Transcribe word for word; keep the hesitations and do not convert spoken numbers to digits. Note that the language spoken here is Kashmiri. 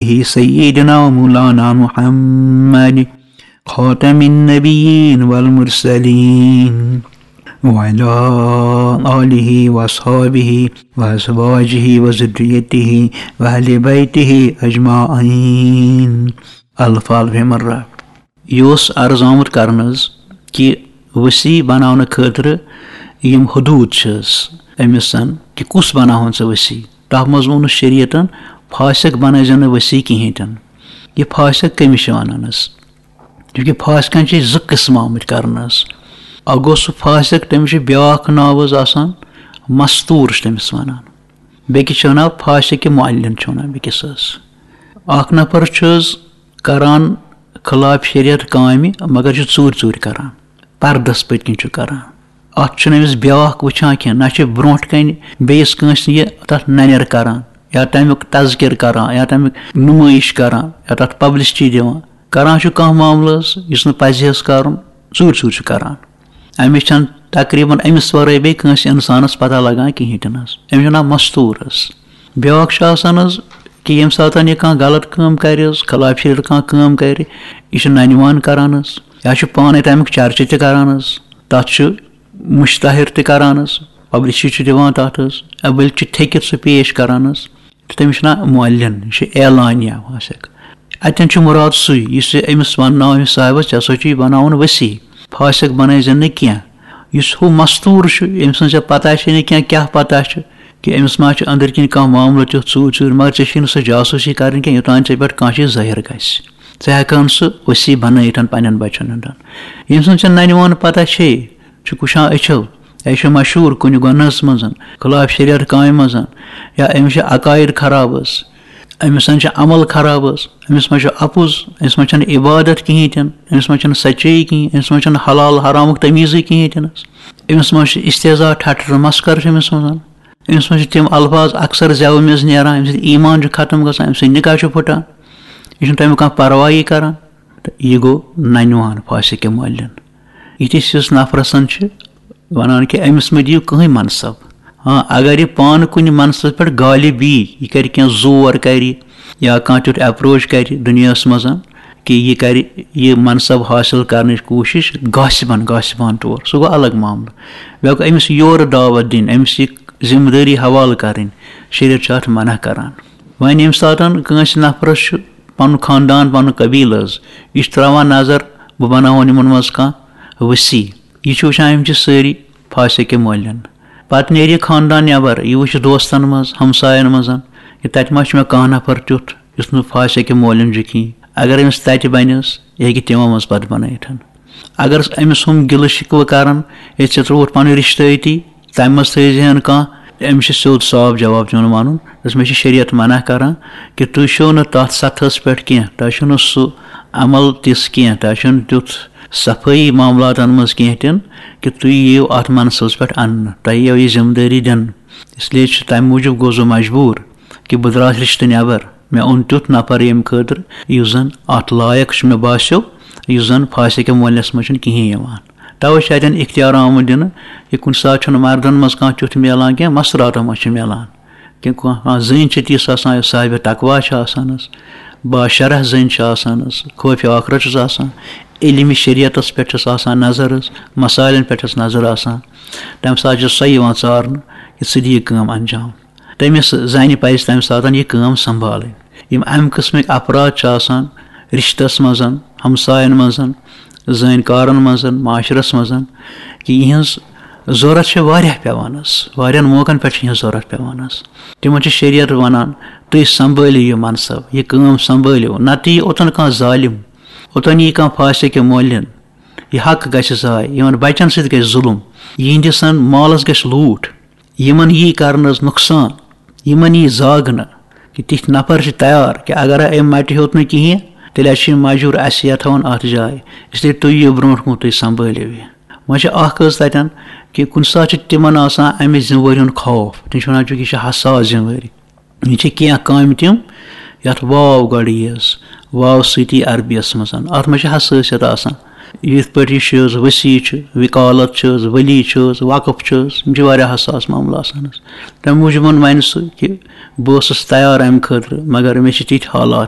سيدنا ومولانا محمد خاتم النبيين والمرسلين وعلى آله وأصحابه وأزواجه وذريته وأهل بيته أجمعين. الف الف مرة. یہِ اوس عرض آمُت کرنہٕ حظ کہِ وصی بناونہٕ خٲطرٕ یِم حدوٗد چھِ حظ أمِس، کہِ کُس بناوہون ژٕ وصی؟ تَتھ منٛز ووٚنُس شریعتن، فاسق بنٲیزٮ۪ن نہٕ وصی کِہیٖنۍ تہِ نہٕ۔ یہِ فاسق کٔمِس چھِ وَنان حظ؟ چوٗنٛکہِ فاسقن چھِ زٕ قٕسم آمٕتۍ کرنہٕ حظ۔ اکھ گوٚو سُہ فاسق، تٔمِس چھُ بیٛاکھ ناو حظ آسان مستوٗر، چھِ تٔمِس وَنان۔ بیٚکِس چھِ وَنان فاسق معلن، چھِ وَنان بیٚکِس حظ۔ اکھ نفر چھُ حظ کران خلاف شریعت کامہِ، مگر چھُ ژوٗرِ ژوٗرِ کران، پردس پٔتۍ کِنۍ چھُ کران۔ اتھ چھُنہٕ أمِس بیٛاکھ وٕچھان کینٛہہ، نہ چھُ برونٛٹھ کنہِ بیٚیِس کٲنٛسہِ یہِ تتھ ننٮ۪ر کران، یا تمیُک تذکر کران، یا تمیُک نمٲیش کران، یا تتھ publicity دِوان۔ کران چھُ کانٛہہ معاملہٕ حظ، یُس نہٕ پزِ حظ کرُن، ژوٗرِ ژوٗرِ چھُ کران۔ أمِس چھَنہٕ تقریباً أمِس ورٲے بیٚیہِ کٲنٛسہِ انسانس پتہ لگان کِہیٖنۍ تہِ نہٕ حظ۔ أمِس چھُ ناو مستوٗر حظ۔ بیٛاکھ چھُ آسان حظ کہِ ییٚمہِ ساتہٕ یہِ کانٛہہ غلط کٲم کرِ حظ، خلاف شریعت کانٛہہ کٲم کرِ، یہِ چھُ ننہِ وان کران حظ، یا چھُ پانے تمیُک چرچہِ تہِ کران حظ، تتھ چھُ مشتہر تہِ کران حظ، publicity چھُ دِوان تتھ حظ، یا بلکہِ چھُ تھیٚکِتھ سُہ پیش کران حظ۔ تہٕ تٔمِس چھُ ناو معلن، یہِ چھُ اعلانیہ فاسق۔ اتٮ۪ن چھُ مراد سُے، یُس یہِ أمِس ونناو أمِس صاحبس، ژےٚ ہسا چھُ یہِ بناوُن وصی، فاسق بنٲیزٮ۪ن نہٕ کینٛہہ۔ یُس ہُہ مستوٗر چھُ، أمۍ سٕنٛز ژےٚ پتہ چھے نہٕ کینٛہہ، کیٛاہ پتہ چھُ کہِ أمِس ما چھُ أنٛدٕرۍ کِنۍ کانٛہہ معاملہٕ تیُتھ ژوٗرِ ژوٗرِ، مگر ژےٚ چھے نہٕ سۄ جاسوٗسی کرٕنۍ کینٛہہ، یوٚتام ژےٚ پٮ۪ٹھ کانٛہہ چیٖز ظٲہِر گژھِ۔ ژٕ ہٮ۪کہٕ ہن سُہ وصی بنٲیِتھ پننٮ۪ن بچن ہُنٛد۔ ییٚمۍ سٕنٛز ژےٚ ننہِ وان پتہ چھے، چھُکھ وٕچھان أچھو، یا یہِ چھُ مشہوٗر کُنہِ گۄنہَس منٛز، خلاف شریعت کامہِ منٛز، یا أمِس چھِ عقاید خراب حظ، أمِس چھِ عمل خراب حظ، أمِس منٛز چھُ اَپُز، أمِس منٛز چھَنہٕ عبادت کِہیٖنۍ تہِ نہٕ، أمِس منٛز چھَنہٕ سچٲیی کِہیٖنۍ، أمِس منٛز چھَنہٕ حلال حرامُک تمیٖزٕے کِہیٖنۍ تہِ نہٕ حظ، أمِس منٛز چھُ استحضاء، ٹھٹھٕ مسخرٕ چھُ أمِس منٛز، أمِس منٛز چھِ تِم الفاظ اکثر زٮ۪وٕ میٚژ نیران، أمۍ سۭتۍ ایٖمان چھُ ختم گژھان، أمۍ سۭتۍ نکاح چھُ پھٕٹان، یہِ چھُنہٕ تَمیُک کانٛہہ پرواہٕے کران۔ تہٕ یہِ گوٚو ننہِ وان فاسق معلن۔ یِتھِس ہِس نفرسن چھِ وَنان کہِ أمِس مہٕ دِیِو کٕہٕنۍ منصب۔ ہاں، اگر یہِ پانہٕ کُنہِ منصبہٕ پٮ۪ٹھ غالب یی، یہِ کَرِ کینٛہہ زور کَرِ یا کانٛہہ تیُتھ approach کَرِ دُنیاہَس منٛز کہِ یہِ کَرِ یہِ منصب حٲصِل کَرنٕچ کوٗشِش غاصبن، غاصبانہٕ طور، سُہ گوٚو الگ معاملہٕ۔ بیٚیہِ گوٚو أمِس یورٕ دعوت دِنۍ، أمِس یہِ ذمہٕ دٲری حوالہٕ کَرٕنۍ، شریعت چھُ اَتھ منع کَران۔ وۄنۍ ییٚمہِ ساتَن کٲنٛسہِ نفرَس چھُ پَنُن خاندان، پَنُن قبیٖلہٕ حظ، یہِ چھُ ترٛاوان نظر، بہٕ بَناوہون یِمَن منٛز کانٛہہ وصی۔ یہِ چھُ وٕچھان، یِم چھِ سٲری فاسق مولوی۔ پتہٕ نیرِ یہِ خاندان نٮ۪بر، یہِ وٕچھِ دوستن منٛز، ہمساین منٛز، کہِ تتہِ ما چھُ مےٚ کانٛہہ نفر تیُتھ یُس نہٕ فاسق مولوی چھُ کِہیٖنۍ۔ اگر أمِس تتہِ بنٮ۪س، یہِ ہیٚکہِ تِمو منٛز پتہٕ بنٲیِتھ۔ اگر أمِس ہُم گِلہٕ شِکوٕ کرن، ہے، ژےٚ ترٛووُتھ پنٕنۍ رشتہٕ أتی، تمہِ منٛز تھٲیزِہن کانٛہہ، أمِس چھُ سیوٚد صاف جواب دیُن ونُن، دَپس، مےٚ چھِ شریعت منع کران کہِ تُہۍ چھِو نہٕ تتھ سطحس پٮ۪ٹھ کینٛہہ، تۄہہِ چھُو نہٕ سُہ عمل تِژھ کینٛہہ، تۄہہِ چھُو نہٕ تیُتھ صفٲیی معاملاتن منٛز کینٛہہ تہِ نہٕ کہِ تُہۍ یِیِو اَتھ منصبس پٮ۪ٹھ اَننہٕ، تۄہہِ یِیو یہِ ذمہٕ دٲری دِنہٕ۔ اس لیے چھُ تَمہِ موٗجوٗب گوٚو سُہ مجبوٗر کہِ بہٕ درٛاس رِشتہٕ نٮ۪بر، مےٚ اوٚن تیُتھ نفر ییٚمہِ خٲطرٕ، یُس زن اَتھ لایق چھُ مےٚ باسیو، یُس زن فاسقِ مولوِیَس منٛز چھُنہٕ کِہیٖنۍ یِوان۔ توے چھُ اَتٮ۪ن اختیار آمُت دِنہٕ کہِ کُنہِ ساتہٕ چھُنہٕ مردن منٛز کانٛہہ تیُتھ میلان کینٛہہ، مستوٗراتن منٛز چھُ میلان۔ کہِ کانٛہہ، کانٛہہ زٔنۍ چھِ تِژھ آسان، یۄس صاحبِ تقویٰ چھِ آسان حظ، باشرح زٔنۍ چھِ آسان حظ، خوفِ ٲخرت چھِس آسان، علمِ شریعتس پٮ۪ٹھ چھِس آسان نظر حظ، مسائلن پٮ۪ٹھ چھِس نظر آسان۔ تَمہِ ساتہٕ چھِ سۄ یِوان ژارنہٕ کہِ ژٕ دِ یہِ کٲم انجام۔ تٔمِس زنہِ پزِ تَمہِ ساتہٕ یہِ کٲم سنبھالٕنۍ۔ یِم امہِ قٕسمٕکۍ افراد چھِ آسان رشتس منٛز، ہمساین منٛز، زٲنۍ کارن منٛز، معاشرس منٛز، کہِ یِہنٛز ضروٗرت چھِ واریاہ پٮ۪وان حظ، واریاہن موقعن پٮ۪ٹھ چھِ یِہنٛز ضروٗرت پٮ۪وان حظ۔ تِمن چھِ شریعت ونان، تُہۍ سنبھٲلِو یہِ منصب، یہِ کٲم سنبھٲلِو، نتہٕ یی اوٚتن کانٛہہ ظالم، اوٚتن یی کانٛہہ فاسق مولوی، یہِ حق گژھِ ضایع، یِمن بچن سۭتۍ گژھِ ظلم، یِہنٛدِس مالس گژھِ لوٗٹھ، یِمن یی کرنہٕ حظ نۄقصان، یِمن یی زاگنہٕ کہِ تِتھۍ نفر چھِ تیار کہِ اگر أمۍ مٹہِ ہیوٚت نہٕ کِہیٖنۍ، تیٚلہِ حظ چھِ یِم مجبوٗر اَسہِ یَتھاوُن اَتھ جایہِ۔ اس لیے تُہۍ یِیِو برونٛٹھ کُن، تُہۍ سنبھٲلِو یہِ۔ وۄنۍ چھِ اَکھ حظ تَتٮ۪ن کہِ کُنہِ ساتہٕ چھِ تِمن آسان اَمہِ ذِمہٕ وٲری ہُنٛد خوف، تِم چھِ وَنان، چوٗنٛکہِ یہِ چھِ حساس ذِمہٕ وٲری۔ یہِ چھِ کینٛہہ کامہِ تِم، یَتھ واو گۄڈٕ یِیَس، واو سۭتی عربیَس منٛز۔ اَتھ منٛز چھِ حسٲسیت آسان۔ یِتھ پٲٹھۍ یہِ چھِ حظ وصی چھُ، وکالت چھِ حظ، ولی چھِ حظ، وقف چھِ حظ، یِم چھِ واریاہ حساس معاملہٕ آسان حظ۔ تَمہِ موٗجوٗب وَنہِ سُہ کہِ بہٕ اوسُس تیار اَمہِ خٲطرٕ، مگر مےٚ چھِ تِتھۍ حالات،